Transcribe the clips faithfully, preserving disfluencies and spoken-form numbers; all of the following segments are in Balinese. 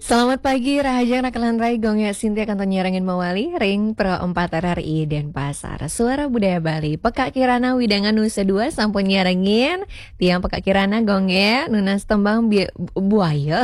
Selamat pagi, Rahajeng Rakalan Rai, Gung Gé Sintia kantun nyarengin mawali ring Pro empat R R I Denpasar. Suara Budaya Bali, Pekak Kirana Widangan Nusa Dua sampun nyarengin. Tiang Pekak Kirana, Gung Gé, nunas tembang bi-, buaya.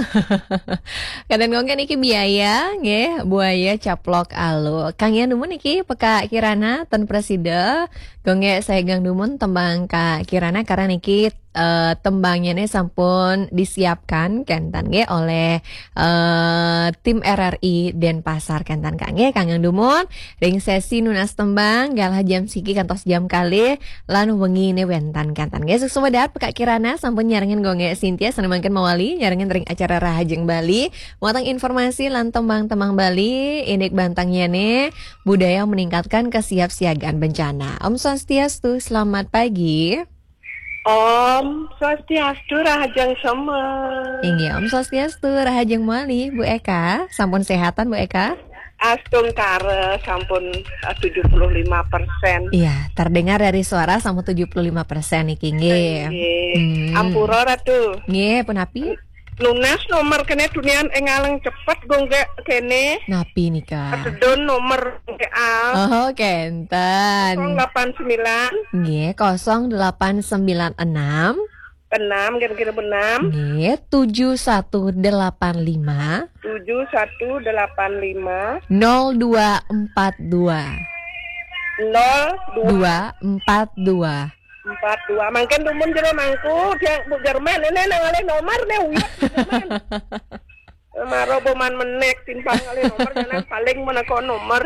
Kadén Gung Gé niki biaya, nggih, buaya caplok alu. Kanggiang dumun niki Pekak Kirana, ten prasida. Gung Gé saegang dumun tembang Kak Kirana karena niki eh, tembangnyané sampun disiapkan kénten nggih oleh eh, tim R R I Denpasar kénten Kak nggih. Kanggiang dumun ring sesi nunas tembang galah jam siki kantos jam kalih lan wenginé wénten kénten nggih. Suksma dahat Kak Kirana sampun nyarengin Gung Gé Sintia sané mangkin mawali nyarengin ring acara Rahajeng Bali. Wantah informasi lan tembang-tembang Bali indik bantangnyané budaya meningkatkan kesiapsiagaan bencana. Om Swastiastu, selamat pagi. Om Swastiastu, Rahajeng Semeng. Inggih, Om Swastiastu, Rahajeng mawali, Bu Eka. Sampun sehatan, Bu Eka? Astungkara, sampun eh, tujuh puluh lima persen. Iya, terdengar dari suara sampun tujuh puluh lima persen niki, nggih. Nggih. Hmm. Ampura, Ratu. Nggih, punapi? Nunas nomor kéné tunian éngaleng cepet, Gung Gé kéné. Napi nika? Sedun nomor Gung Gé, ah. Oh, kénten. Kosong delapan sembilan. Nggih, kosong delapan sembilan enam. Enam, kira-kira enam. Nggih, tujuh satu delapan lima. Tujuh satu delapan lima. Nol dua empat dua. Nol dua. Dua empat dua. Empat dua. Mangkin dumun jero mangku, tiang Bu Jerman, ini nang ngalih nomor nih, uyut Bu Jerman. Maro boman menek, timpang ngalih nomor, jangan paling meneko nomor.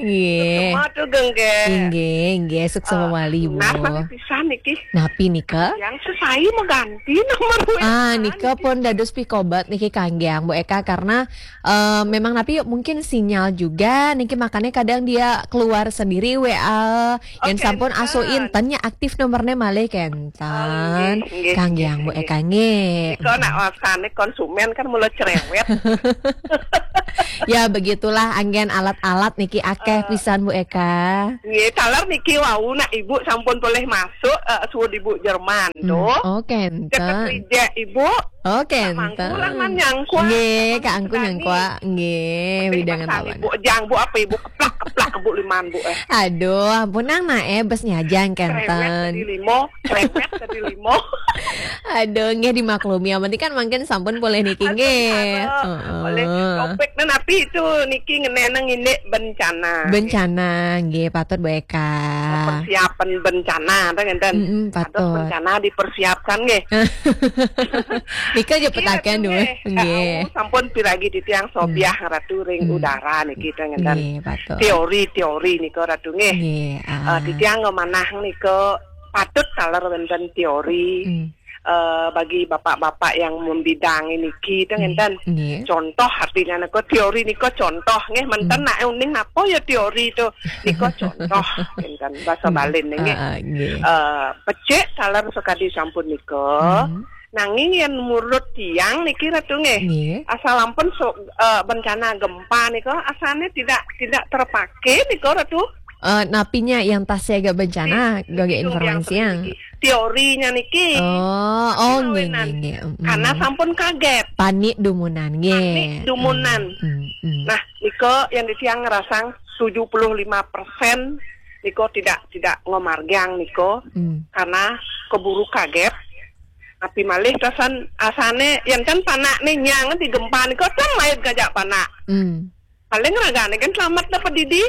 Nggih. Semua tuh, Gung Gé. Inggih, inggih, suksma mawali, Bu. Nah, mati pisan niki. Napi nika? Yang sesai mengganti nomor W A. Ah, nika pun dados pikobet niki kanggiang Bu Eka karena eh, memang napi mungkin sinyal juga niki makanya kadang dia keluar sendiri W A. Yang sampun aso inten nya aktif nomornya malih kénten. Oh, nggih, nggih, kanggiang Bu Eka nggih. Nika nak wasane konsumen kan mula cerewet. Ya begitulah anggén alat-alat niki akeh pisan Bu Eka. Nggih, taler niki wau nak Ibu sampun boleh masuk eh, suud Ibu Jerman tuh. Oh, kénten. Cepet rijek Ibu. Oh, kénten. Mangku lah man nyangkua. Nggih, Kak Angku nyangkua. Nggih, widangan lawan. Bu jang, Bu apa Ibu keplak-keplak Bu liman, Bu eh. Aduh, ampun nang nae bes nyajang kénten. Cerewet jadi limo, cerewet jadi limo. Aduh, nggih dimaklumi. Yang penting kan mangkin sampun boleh niki nggih. Heeh. Boleh. Topik nah, napi itu niki ngeneneng ini bencana. Bencana, nggih patut Bu Eka. Persiapan bencana, ta ngenten. Mm-mm, patut. Bencana dipersiapkan nggih. Nika aja petakan dulu. Nggih. Sampun piragi titiang sobiah Ratu ring udara niki, ta ngenten. Nggih, patut. Teori-teori nika Ratu nggih. Nggih. Eh, titiang ngemanah nika patut taler wenten teori. Eh, bagi bapak-bapak yang membidang niki, ta ngenten. Nggih. Contoh artinya nika teori nika contoh nggih, menten nak uning napa ya teori itu. Nika contoh ngenten bahasa Bali nggih. Ah, nggih. Eh, becik taler sakadi sampun nika. Nanging yen menurut tiang niki Ratu nggih. Nggih. Asal ampun so, eh, bencana gempa nika asane tidak tidak terpakai nika Ratu. Eh, napinya yang tak siaga bencana, gaga informasi yang. Teorinya niki. Oh, oh, nggih, nggih, nggih. Mm-mm. Karena sampun kaget. Panik dumunan, nggih. Panik dumunan. Mm, mm, mm. Nah, nika yang tiang ngerasang tujuh puluh lima persen nika tidak tidak ngomargiang nika karena keburu kaget. Tapi malih tasan asane yang kan panakne nyang di gempa nika tem mait ngajak panak. Hmm. Paling ragane kan selamat dapat didi.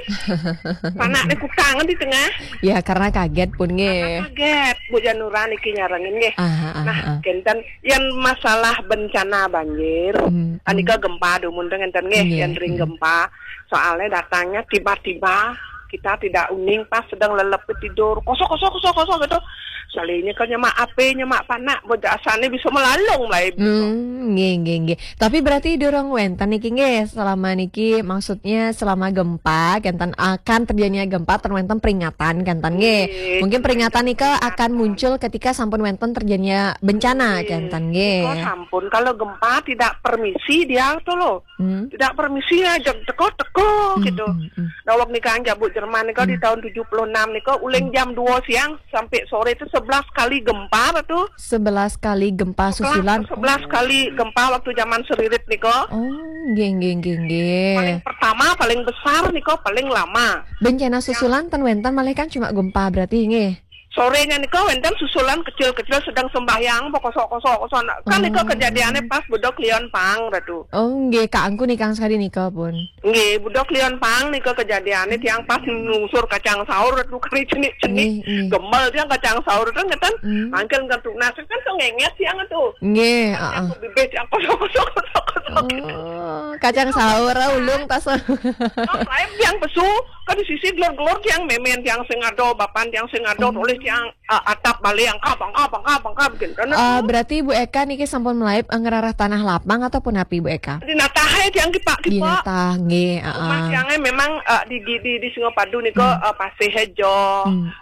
Panakne kukang di tengah. Ya, karena kaget pun nggih. Karena kaget, Bu Janura niki nyarengin nggih. Aha, aha. Nah, kenten yang masalah bencana banjir, hmm, anika gempa dumun teng enten nggih, nggih, yang ring gempa. Soalnya datangnya tiba-tiba, kita tidak uning pas sedang lelep tidur, kosok kosok kosok kosok gitu. Salinya kan nyemak ape, nyemak panak, bocah asane bisa melalung lah ibu. Hmm, nggih, nggih, nggih. Tapi berarti durung wenten niki nggih, selama niki maksudnya selama gempa, kenten akan terjadinya gempa, ten wenten peringatan kenten nggih. Nggih, mungkin peringatan nika akan muncul ketika sampun wenten terjadinya bencana kenten nggih. Nika sampun, kalau gempa tidak permisi dia tuh loh. Hmm. Tidak permisi aja teko-teko gitu. Hmm, hmm. Nah, wong nika aja Bu Jerman nika di tahun tujuh puluh enam nika, uling jam dua siang sampai sore itu sebelas kali gempa tuh. Sebelas kali gempa susulan. Sebelas kali gempa waktu zaman Seririt nika. Oh, nggih, nggih, nggih, nggih. Paling pertama, paling besar nika, paling lama. Bencana susulan ten wenten malih kan cuma gempa berarti nggih. Sorenya nika wenten susulan kecil-kecil sedang sembahyang, apa kosok-kosok, kosok. Kan nika kejadiannya pas budok lion pang, Ratu. Oh, nggih, Kak Angku nikang sekali nika pun. Nggih, budok lion pang nika kejadiannya tiang pas nungsur kacang sahur, Ratu, kari cenik-cenik. Nggih, nggih. Gemel tiang kacang sahur, kan ngeten. Mangkil ngentuk nasi, kan tuh ngenget tiang tuh. Nggih, heeh. Aku bibit tiang kosok-kosok, kosok-kosok. Oh, kacang sahur, ah, ulung tas. Oh, lain tiang pesu, kan di sisi gelor-gelor tiang memen, tiang sing ada, bapan tiang sing ada, tulis tiang, ah, atap balik, angkap, angkap, angkap, angkap, gitu. Kan, eh, berarti Bu Eka niki sampun melaib, eh, ngerarah tanah lapang ataupun api, Bu Eka? Di natah ae tiang kipak-kipak. Di natah, nggih, heeh. Rumah tiangnya memang, eh, di, di, di, di Singapadu nika, eh, pasih aja,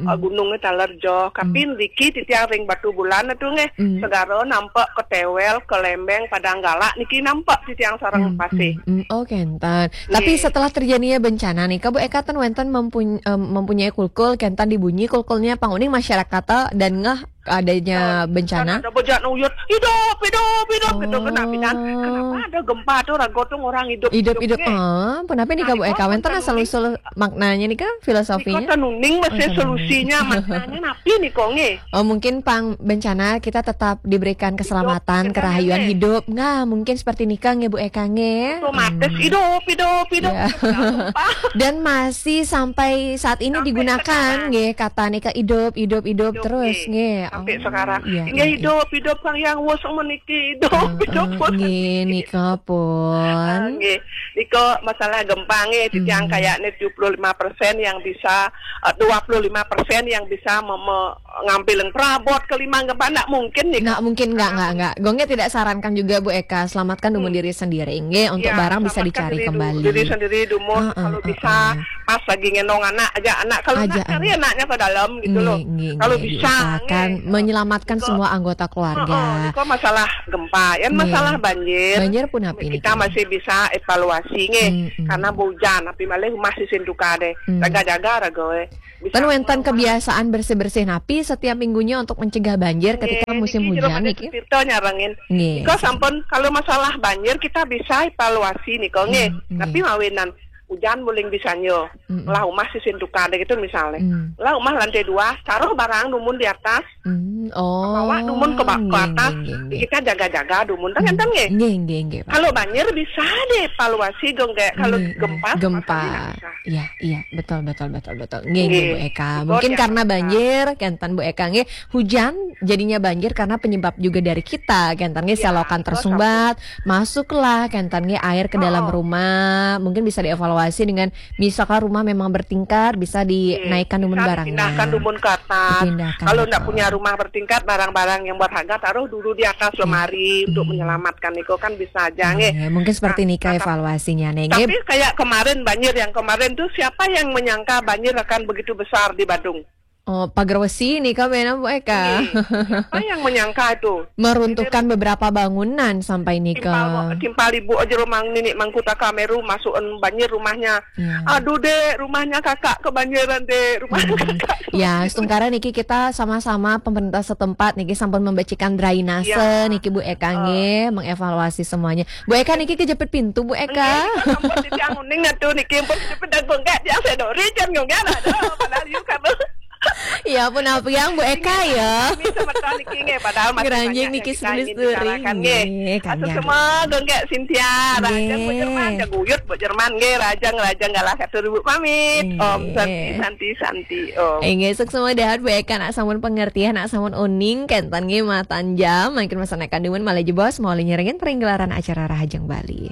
eh, gunungnya taler jo. Tapi niki titiang ring Batu Bulan itu nggih, segara nampak ke Tewel, ke Lembeng, Padang Galak, niki nampak titiang sareng pasih. Hmm, oh, kenten. Tapi setelah terjadinya bencana nih, Kak Bu Eka ten wenten mempun-, em, mempunyai kulkul, kenten dibunyi kulkulnya, pang uning masyarakat dan ngeh adanya bencana. Kan ada bejak nuyut, "Hidup, hidup, hidup," gitu kan, napi dan kenapa ada gempa tuh, rago tuh orang hidup, hidup, hidup, nggih. Ah, pun apa nih, Kak Bu Eka? Wenten asal usul maknanya nih, Kak, filosofinya? Nika ten uning masih solusinya, maknanya napi nih, kok, nggih? Oh, mungkin pang bencana kita tetap diberikan keselamatan, kerahayuan hidup. Nah, mungkin seperti nika nggih, Bu Eka, nggih. Otomatis hidup, hidup, hidup. Iya. Dan masih sampai saat ini digunakan, nggih, kata nika hidup, hidup, hidup terus, nggih. Sampai sekarang. Iya, nggih, iya, iya. Hidup, hidup, Kang Yang Wos meniki, hidup, hidup, Wos. Nggih, nika pun. Ah, nggih. Nika masalah gempa nggih, titiang kayaknya tujuh puluh lima persen yang bisa, eh, dua puluh lima persen yang bisa mem-, ngambil perabot ke lima gempa, ndak mungkin nih. Ndak mungkin, nggak, nggak, nggak. Gongnya tidak sarankan juga, Bu Eka, selamatkan dumun diri sendiri, nggih, untuk barang bisa dicari kembali. Iya, selamatkan diri du-, diri sendiri dumun, kalau bisa, pas lagi ngendong anak aja, anak, kalau ndak cari anaknya ke dalam gitu loh. Nggih, nggih, kalau bisa, diusahakan nggih. Menyelamatkan semua anggota keluarga. Heeh, itu masalah gempa, ya, masalah banjir. Banjir pun api kita masih bisa evaluasi nggih, karena hujan, tapi malah rumah sisin duka deh. Jaga-jaga raga, eh. Ten wenten kebiasaan bersih-bersih napi setiap minggunya untuk mencegah banjir ketika musim hujan niki? Tirta nyarengin. Nggih. Nika sampun, kalau masalah banjir kita bisa evaluasi nika nggih. Tapi mawinan hujan muling bisanya. Lah rumah sisin duka deh gitu misalnya. Lah rumah lantai dua, taruh barang dumun di atas. Hmm, oh, bawa dumun ke ba-, ke atas. Nggih, nggih, nggih. Kita jaga-jaga dumun, kan ngenten nggih? Nggih, nggih, nggih, Pak. Kalau banjir bisa deh evaluasi dong, kayak kalau gempa, gempa. Iya, iya, betul, betul, betul, betul. Nggih, nggih, Bu Eka. Mungkin karena banjir, kenten Bu Eka nggih, hujan jadinya banjir karena penyebab juga dari kita, kenten nggih, selokan tersumbat, masuklah kenten nggih air ke dalam rumah. Mungkin bisa dievaluasi dengan misalkan rumah memang bertingkat, bisa dinaikkan dumun barangnya. Dipindahkan dumun ke atas. Dipindahkan, betul. Kalau ndak punya rumah bertingkat, barang-barang yang berharga taruh dulu di atas lemari untuk menyelamatkan. Nika kan bisa aja nggih. Iya, mungkin seperti nika evaluasinya nggih. Tapi kayak kemarin banjir yang kemarin tuh, siapa yang menyangka banjir akan begitu besar di Badung? Oh, pager wesi nika benar, Bu Eka. Nggih. Siapa yang menyangka itu? Meruntuhkan beberapa bangunan sampai nika. Timpal, timpal ibu aja rumah nini mangkuta kameru masukin banjir rumahnya. Iya. Aduh, Dek, rumahnya kakak kebanjiran, Dek. Rumahnya kakak kebanjiran. Ya, sementara niki kita sama-sama pemerintah setempat niki sampun membecikan drainase niki, Bu Eka nggih, mengevaluasi semuanya. Bu Eka niki kejepit pintu, Bu Eka. Nggih, nika sampun titiang uning atuh niki, pun kejepit dan bengkak tiang sedori jan nggih, aduh, padahal yuk kamu. Ya pun apa yang Bu Eka ya. Kami semeton niki nggih, padahal masih banyak yang kita ingin bicarakan nggih. Nggih, atur semua, Gung Kak Cynthia, Rajang, Bu Jerman, Jaguyut, Bu Jerman nggih, Rajang, Rajang galah katur Bu pamit. Om Santi, Santi, Santi, Om. Inggih, sukses mudahan Bu Eka nak sampun pengertian, nak sampun uning, kenten nggih matan jam, mangkin masanekan dumun malih jebos, mau nyerengin peringgelaran acara Rahajeng Bali.